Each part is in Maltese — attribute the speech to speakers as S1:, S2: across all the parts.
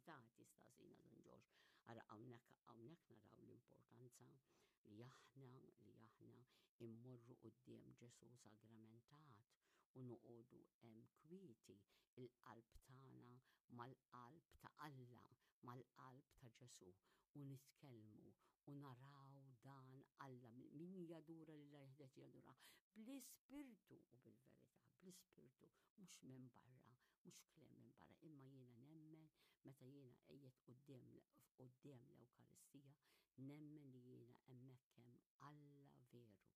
S1: bil-verità tistaqsina Dun Ġorġ. Ara hawnhekk hawnhekk naraw l-importanza li aħna li aħna immorru quddiem Ġesù sagramentat u noqogħdu hemm kwieti il-qalb tagħna mal-qalb ta' Alla, mal-qalb ta' Ġesù u nitkellmu u naraw dan Alla min jadura lil jeħdet jadura bl-ispirtu u bil-verità, bl-ispirtu mhux minn barra, mhux kliem minn barra, imma jiena nemmen meta jiena qiegħed quddiem quddiem l-Ewkaristija, nemmen li jiena hemmhekk hemm Alla veru,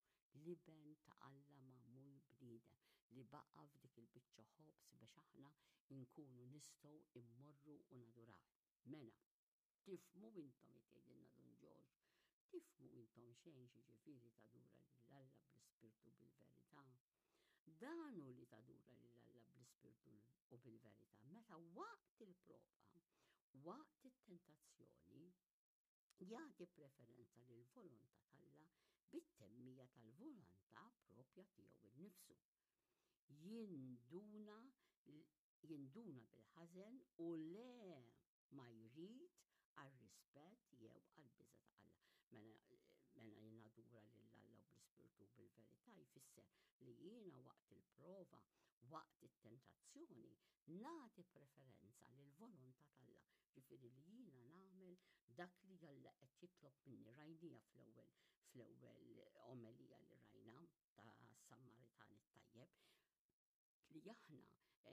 S1: l-Iben ta' Alla magħmul bniedem li baqa' f'dik il-biċċa ħobż biex aħna nkunu nistgħu immorru u nadurawh. Mela, tifhmu intom qed jgħidilna Dun Ġorġ, tifhmu intom xejn x'jiġifieri tadura lil Alla bl-ispirtu u bil-verità. Dan hu li tadura lil Alla bl-ispirtu u bil-verità meta waqt il-prova, waqt it-tentazzjoni, jagħti preferenza lil volontà t'Alla bit-temmija tal-volontà propja tiegħu innifsu. Jinduna jinduna bil-ħażen u le ma jrid għar-rispett jew għall-biża' ta' Alla. Mela, mela jien nadura lil Alla u bl-ispirtu u bil-verità jfisser li jiena waqt il-prova, waqt it-tentazzjoni, nagħti preferenza lill-volontà t'Alla. Ġifieri li jiena nagħmel dak li Alla qed jitlob minni rajnija fl-ewwel fl-ewwel omelija li rajna ta' Sammaritan it-tajjeb li aħna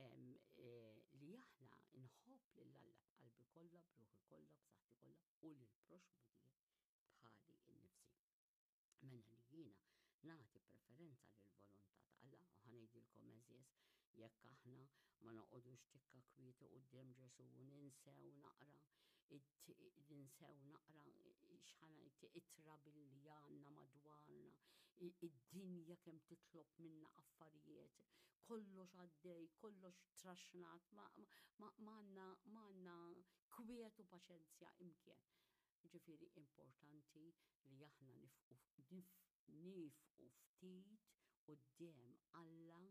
S1: eh, li aħna nħobb lil Alla b'qalbi kollha, b'ruħi kollha, b'saħħti kollha u lil proxmu tiegħi bħali nnifsi. Mela li jiena nagħti preferenza lil volontà ta' Alla u ħanejdilkom eżież jekk aħna ma noqogħdux tikka kwieti quddiem Ġesù u ninsew naqra ninsew naqra x'ħanajt it-trab billi għandna madwarna, id-dinja kemm titlob minna affarijiet, kollox għaddej, kollox traxnat, ma għandna kwiet u paċenzja imkien. Ġifieri importanti li aħna nifqu Niefqu ftit quddiem Alla,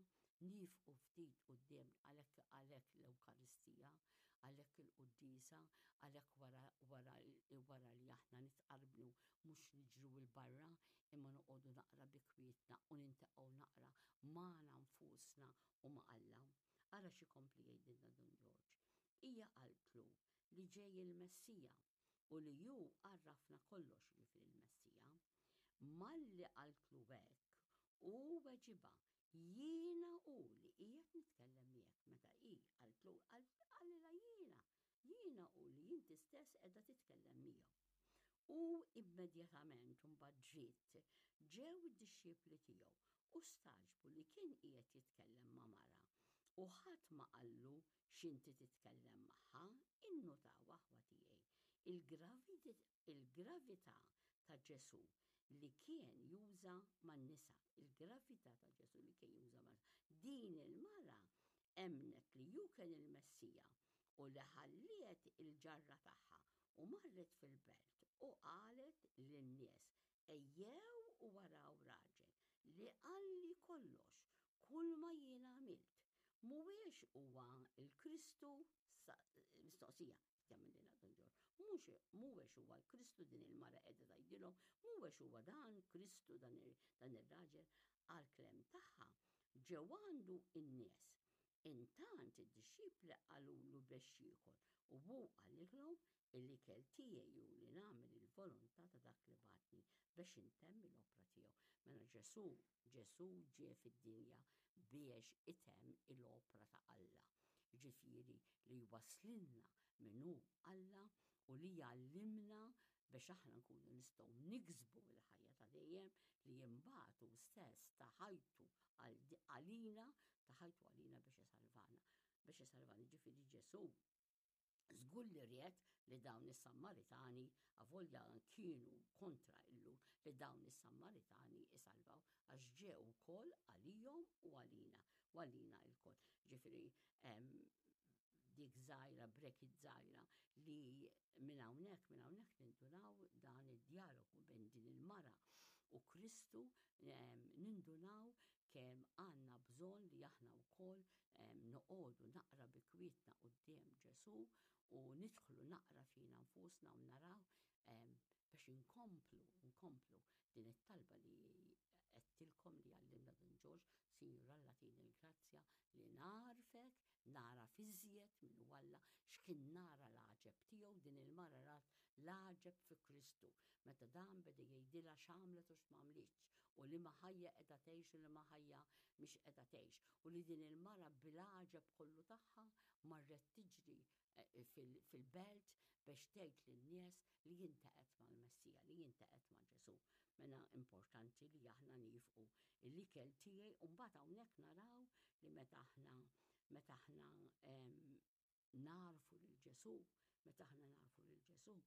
S1: niefqu ftit quddiem għalhekk għalhekk l-Ewkaristija, għalhekk il-quddiesa, għalhekk wara wara wara li aħna nitqarbnu mhux niġru 'l barra imma noqogħdu naqra bi kwietna u nintaqgħu naqra magħna nfusna u ma' Alla. Ara x'ikompli jgħidilna Dun Ġorġ. Hija qaltlu li ġej il-Messija u li hu għarrafna kollox, jiġifieri l-Messija. Malli qaltlu hekk, hu weġibha, Jiena hu li qiegħed nitkellem miegħek. Meta hi qaltlu, qalilha jiena, jiena hu li inti stess qiegħda titkellem miegħu. U immedjatament imbagħad ġiet ġew id-dixxipli tiegħu u stagħġbu li kien qiegħed jitkellem ma' mara u ħadd ma qallu X'inti titkellem magħha, innutaw aħwa tiegħi, il-gravità ta' Ġesù li kien juża man-nisa, il-gravità ta' Ġesù li kien juża man Din il-mara emmnet li hu kien il-Messija u li ħalliet il-ġarra tagħha u marret fil-belt u qalet lin-nies Ejjew u araw raġel li qalli kollox, kulma jiena għamilt. Mhuwiex huwa l-Kristu? Mistoqsija jagħmililha Dun Ġorġ. Mhux mhuwiex huwa l-Kristu din il-mara qiegħda tgħidilhom, mhuwiex huwa dan Kristu dan ir-raġel għall-klem tagħha ġew għandu n-nies. Intant id-dixxipli qalulu biex jiekol u hu qalilhom Il-ikel tiegħi hu li nagħmel il-volontà ta' dak li bagħatni biex intemm l-opra tiegħu. Mela Ġesù, Ġesù ġie fid-dinja biex itemm il-opra ta' Alla. Ġifieri li jwasslilna min hu Alla u li jgħallimna biex aħna nkunu nistgħu niksbu l-ħajja ta' dejjem li imbagħad hu stess ta ħajtu għalina, ta ħajtu għalina biex isalvana. Biex isalvana, ġifieri Ġesù Żgur li ried li dawn is-Sammaritani, avolja kienu kontra il-Lhud, li dawn is-Sammaritani isalvaw għax ġew ukoll għalihom u għalina, u għalina lkoll. Ġifieri dik żgħira, bracket żgħira li minn hawnhekk, minn hawnhekk nindunaw dan id-djalogu bejn din il-mara u Kristu, nindunaw kemm għandna bżonn li aħna wkoll Noqogħdu naqra bi kwietna quddiem Ġesù u nidħlu naqra fina nfusna u naraw biex inkomplu, nkomplu din it-talba li għedtilkom li għallimna Dun Ġorġ, Sinjur Alla tini l-grazzja li nagħrfek, nagħraf iżjed min hu Alla, x'kien nara l-għaġeb tiegħu, din il-mara rat l-għaġeb fi Kristu, meta dan beda jgħidilha x'għamlet u x'm'għamlitx, u liema ħajja qiegħda tgħix u liema ħajja mhix qiegħda tgħix, u li din il-mara bil-għaġeb kollu tagħha marret tiġri fil-belt biex tgħid lin-nies li jintaqgħet mal-Messija, li jintaqgħet ma' Ġesù. Mela importanti li aħna nifqu l-ikel tiegħi u mbagħad hawnhekk naraw li meta aħna meta aħna narfu lil Ġesù, meta aħna narfu lil Ġesù,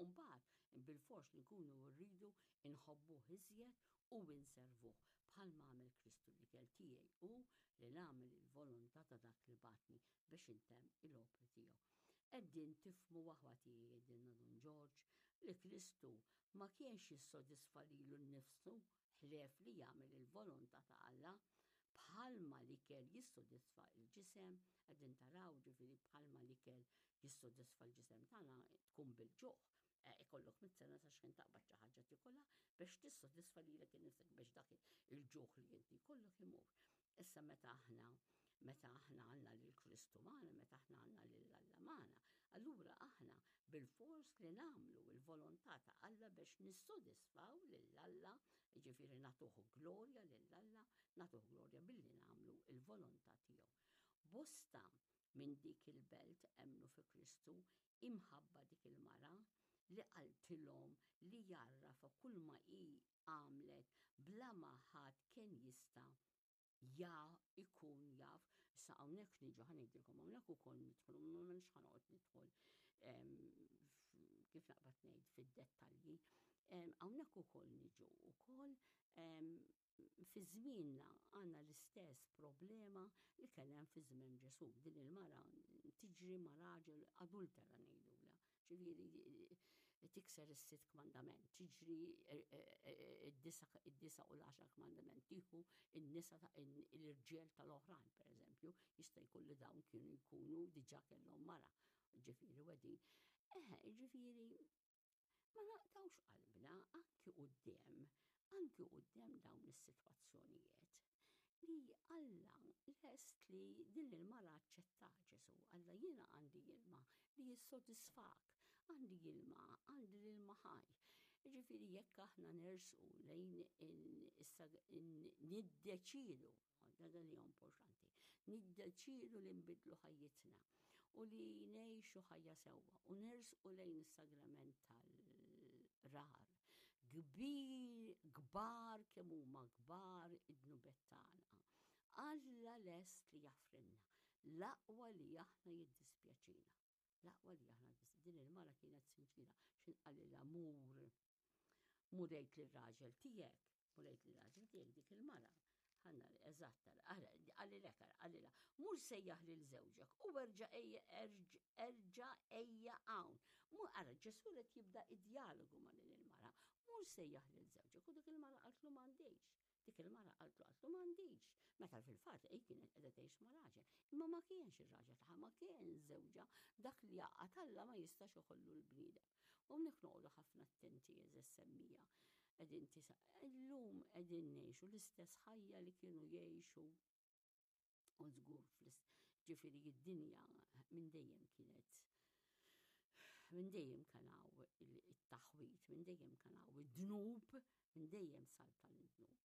S1: Mbagħad bilfors li nkunu rridu nħobbuh iżjed u nservuh bħalma għamel Kristu l-ikel tiegħi hu li nagħmel il-volontà ta' dak li bagħatni biex intemm il-opri tiegħu. Qegħdin tifhmu aħwa tiegħi jgħidilna Dun Ġorġ li Kristu ma kienx jissodisfa lilu nnifsu ħlief li jagħmel il-volontà ta' Alla bħalma l-ikel jissodisfa l-ġisem, qegħdin taraw ġifieri bħalma l-ikel jissodisfa l-ġisem tagħna tkun bil-ġuħ, eh, ikollok mit-sena sa xejn taqbad xi ħaġa tikolha biex tissodisfa lilek innifsek biex dak il-ġuħ li inti jkollok imur. Issa meta aħna meta aħna għandna lil Kristu magħna, meta aħna għandna lil Alla magħna, allura aħna bilfors li nagħmlu l-volontà ta' Alla biex nissodisfaw lil Alla, jiġifieri nagħtuh glorja lil Alla, nagħtuh glorja billi nagħmlu l-volontà tiegħu. Bosta minn dik il-belt emmnu fi Kristu imħabba dik il-mara li qaltilhom li jgħarrafha kulma hi għamlet bla ma ħadd kien jista' ja ikun jaf. Issa hawnhekk niġu ħa ngħidilkom hawnhekk ukoll nidħlu ma m'hemmx ħa noqgħod nidħol kif naqbad ngħid fid-dettalji. Hawnhekk ukoll niġu ukoll fi żmienna għandna l-istess problema li kien hemm fi żmien Ġesù. Din il-mara tiġri ma' raġel adultera ngħidulha. Ġifieri tikser is-sitt kmandament, tiġri id-disa' u l-għaxar kmandament, tieħu n-nisa l-irġiel tal-oħrajn, pereżempju, jista' jkun li dawn kienu jkunu diġà kellhom mara, ġifieri wedin. Eħe, ġifieri ma naqtgħux qalbna anki quddiem, anki quddiem dawn is-sitwazzjonijiet li Alla lest li din il-mara aċċettat Ġesù. Alla jiena għandi ilma li jissodisfak, għandi ilma, għandi l-ilma ħaj. Ġifieri jekk aħna nersqu lejn niddeċiedu Dan li importanti. Niddeċiedu li nbidlu ħajjitna u li ngħixu ħajja sewwa u nersqu lejn is-sagrament tal-rar. Kbir, kbar kemm huma kbar id-dnubiet tagħna. Alla lest li jaħfrilna. L-aqwa li aħna jiddispjaċina. L-aqwa li aħna din il-mara kienet sinċira x'in qalilha mur mur għid lir-raġel tiegħek, mur għid lir-raġel tiegħek dik il-mara. Ħanna eżatt, qalilek, qalilha, mur sejjaħ lil żewġek u erġa' ejja erġa' ejja hawn. Mur ara Ġesù qed jibda id-dialogu ma' din il-mara. Mur sejjaħ lil żewġek u dik il-mara qaltlu m'għandix. Dik il-mara qaltlu qaltlu m'għandix. Meta fil-fatt hi kienet qiegħda tgħix ma' raġel. Imma ma kienx ir-raġel tagħha, ma kien żewġha, dak li jgħaqqad Alla ma jistax iħollu l-bniedem. U hawnhekk noqogħdu ħafna attenti għeżież semmija. Qegħdin tisa' illum qegħdin ngħixu l-istess ħajja li kienu jgħixu u żgur ġifieri id-dinja minn dejjem kienet minn dejjem kien hawn it-taħwid, minn dejjem kien hawn id-dnub, minn dejjem saltan id-dnub.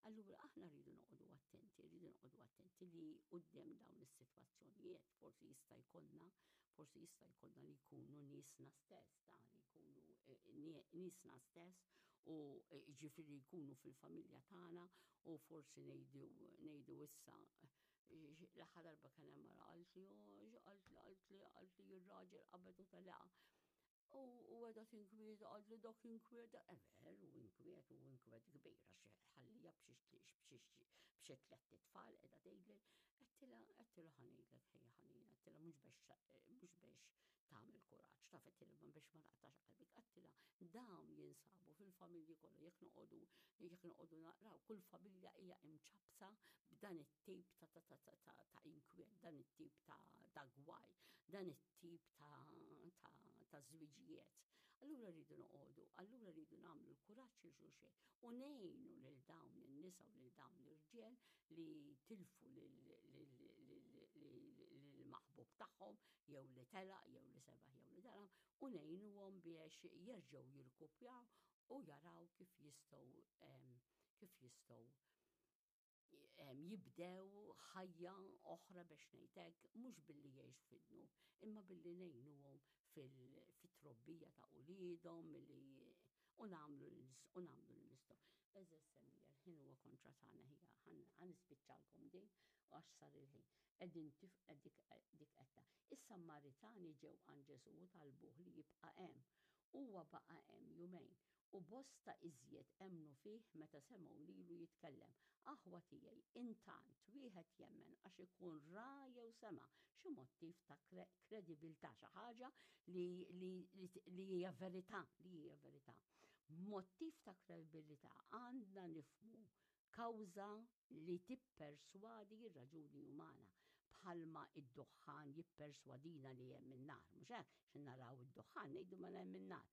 S1: Allura aħna rridu noqogħdu attenti, rridu noqogħdu attenti li quddiem dawn is-sitwazzjonijiet forsi jista' jkollna, forsi jista' jkollna li jkunu niesna stess, ta' li jkunu eh, niesna stess u eh, ġifieri jkunu fil-familja tagħna u forsi ngħidu ngħidu issa eh, l-aħħar darba kien hemm mara qaltli oh, qaltli qaltli qaltli r-raġel qabed u telaqa. U għedha tinkwieta, qaltli dak inkwieta, eh, veru inkwiet u inkwiet kbir għax ħallija b'xi tlett itfal qiegħda tgħidli, għedtilha għedtilha ħa ngħidlek ħejja ħanina, Għedtilha mhux biex mhux biex tagħmel kuraġġ, taf għedtilha ma biex ma naqtax qalbik, għedtilha dawn jinsabu fil-familji kollha jekk noqogħdu jekk noqogħdu naqraw kull familja hija imċappsa b'dan it-tip ta' ta' ta' ta' ta' ta' inkwiet, dan it-tip ta' ta' gwaj, dan it-tip ta' ta' ta' żwiġijiet. Allura rridu noqogħdu, allura rridu nagħmlu l-kuraġġ lil xulxin u ngħinu lil dawn in-nisa u lil dawn l-irġiel li tilfu lill-maħbub tagħhom jew li telaq jew li sebaħ jew li dalam u ngħinuhom biex jerġgħu jirkupjaw u jaraw kif jistgħu kif jistgħu jibdew ħajja oħra biex ngħid hekk, mhux billi jgħixu fid-dnub, imma billi ngħinuhom fit-trobbija ta' uliedhom, milli u nagħmlu u nagħmlu li nistgħu. Eżeż semmija l-ħin huwa kontra tagħna ħija, ħa nispiċċalkom din għax sar il-ħin. Qegħdin dik qedta. Is-Sammaritani ġew għand Ġesù u talbuh li jibqa' hemm. Huwa baqa' hemm jumejn. U bosta iżjed emmnu fih meta semgħu lilu jitkellem. Aħwa tiegħi, intant, wieħed jemmen għax ikun ra jew sema' xi mottiv ta' kredibilità, xi ħaġa li, li, li hija verità, li hija verità. Mottiv ta' kredibilità għandna nifhmu kawża li tipperswadi r-raġuni umana, bħalma id-duħħan jipperswadina li hemm in-nar, mhux hekk? Xi naraw id-duħħan ngħidu mela hemm in-nar.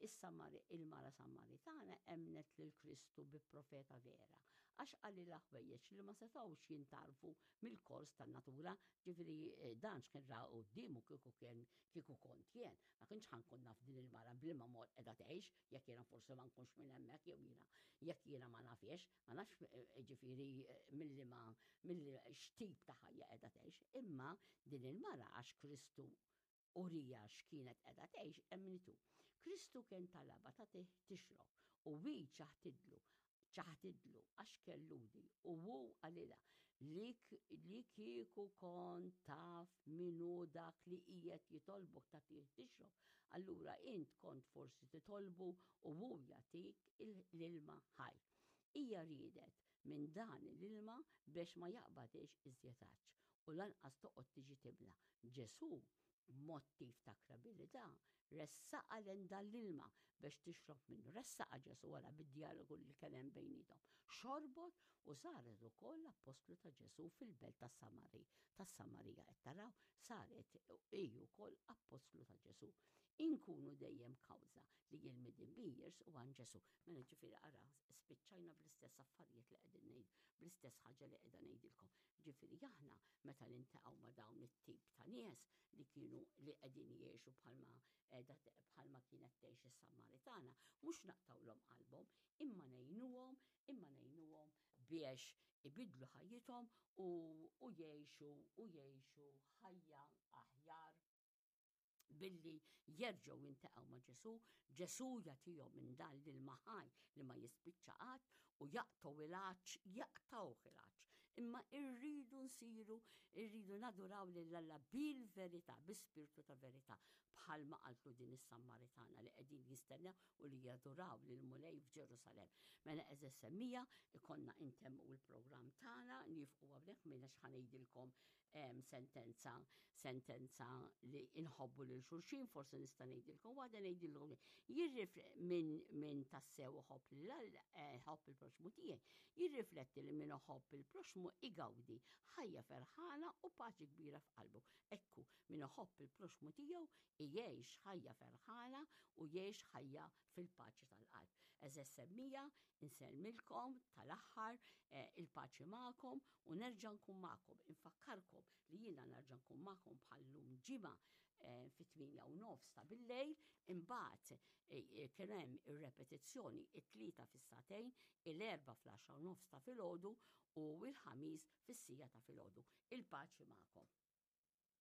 S1: Issa il-mara Sammaritana emnet lil Kristu bi profeta vera, għax qalilha ħwejjeġ li ma setgħux jintgħarfu mill-kors tan-natura, ġifieri eh, dan x'kien ra quddiemu kieku kien kieku kont jien, ma kienx ħa nkun naf din il-mara b'liema mod qiegħda tgħix, jekk jiena forsi ma nkunx minn hemmhekk jew jiena jekk jiena ma nafiex, ma nafx eh, ġifieri eh, milli ma milli x'tip ta' ħajja qiegħda tgħix, imma din il-mara għax Kristu uriha x'kienet qiegħda tgħix emmnitu. Kristu kien talabha tagħtih tixrob u hi ċaħtidlu ċaħtidlu għax kien Lhudi u hu qalilha li li kieku kont taf min hu dak li qiegħed jitolbok tagħtih tixrob, allura int kont forsi titolbu u hu jagħtik l-ilma ħaj. Hija riedet minn dan l-ilma biex ma jaqbadhiex iżjed għatx u lanqas toqgħod tiġi timla. Ġesù, b'mottiv ta' kredibilità, ressaqha lejn dan l-ilma biex tixrob minnu. Ressaqha Ġesù wara bid-djalogu li kien hemm bejniethom. Xorbot u saret ukoll appostlu ta' Ġesù fil-belt tas-Samari, tas-Samarija. Qed taraw, saret hi wkoll appostlu ta' Ġesù. Inkunu dejjem kawża li l-midinbin jersqu għand Ġesù. Mela ġifieri ara, spiċċajna bl-istess affarijiet li qegħdin ngħid, bl-istess ħaġa li qiegħda ngħidilkom. Ġifieri aħna meta niltaqgħu ma' dawn it-tip ta' nies li kienu li qegħdin jgħixu bħalma qiegħda bħalma kienet tgħix is-Sammaritana, mhux naqtgħulhom qalbhom, imma ngħinuhom, imma ngħinuhom biex ibidlu ħajjithom u, u jgħixu u jgħixu ħajja aħjar billi jerġgħu jiltaqgħu ma' Ġesù, Ġesù jagħtihom minn dan l-ilma ħaj li ma jispiċċa qatt u jaqtgħu il-għatx, jaqtgħuh il-għatx. Imma irridu nsiru, irridu naduraw lil Alla bil-verità, bi-spirtu ta' verità, bħalma qaltlu din is-Sammaritana li qegħdin jistennew u li jaduraw lil Mulej f'Ġerusalemm. Mela għeżież semmiegħa, ikollna intemmu l-programm tagħna, nieqfu hawnhekk m'iniex ħa ngħidilkom sentenza sentenza li inħobbu lil xulxin, forsi nista' ngħidilkom waħda ngħidilkom minn min tassew iħobb lil eh, ħobb il-proxmu tiegħi, jirrifletti li min iħobb il-proxmu igawdi ħajja ferħana u paċi kbira f'qalbu. Ekku, min iħobb il-proxmu tiegħu jgħix ħajja ferħana u jgħix ħajja fil-paċi tal-qalb. Għeżież semmiegħa, insellmilkom tal-aħħar eh, il-paċi magħkom u nerġa' nkun magħkom. Infakkarkom li jiena nerġa' nkun magħkom bħal-lum ġimgħa eh, fit-8:30 ta' bil-lejl, imbagħad eh, kien hemm ir-repetizzjoni it-Tlieta fis-sagħtejn, il-Erbgħa fl-10:30 ta' filgħodu u l-Ħamis fis-siegħa ta' filgħodu. Il-paċi magħkom.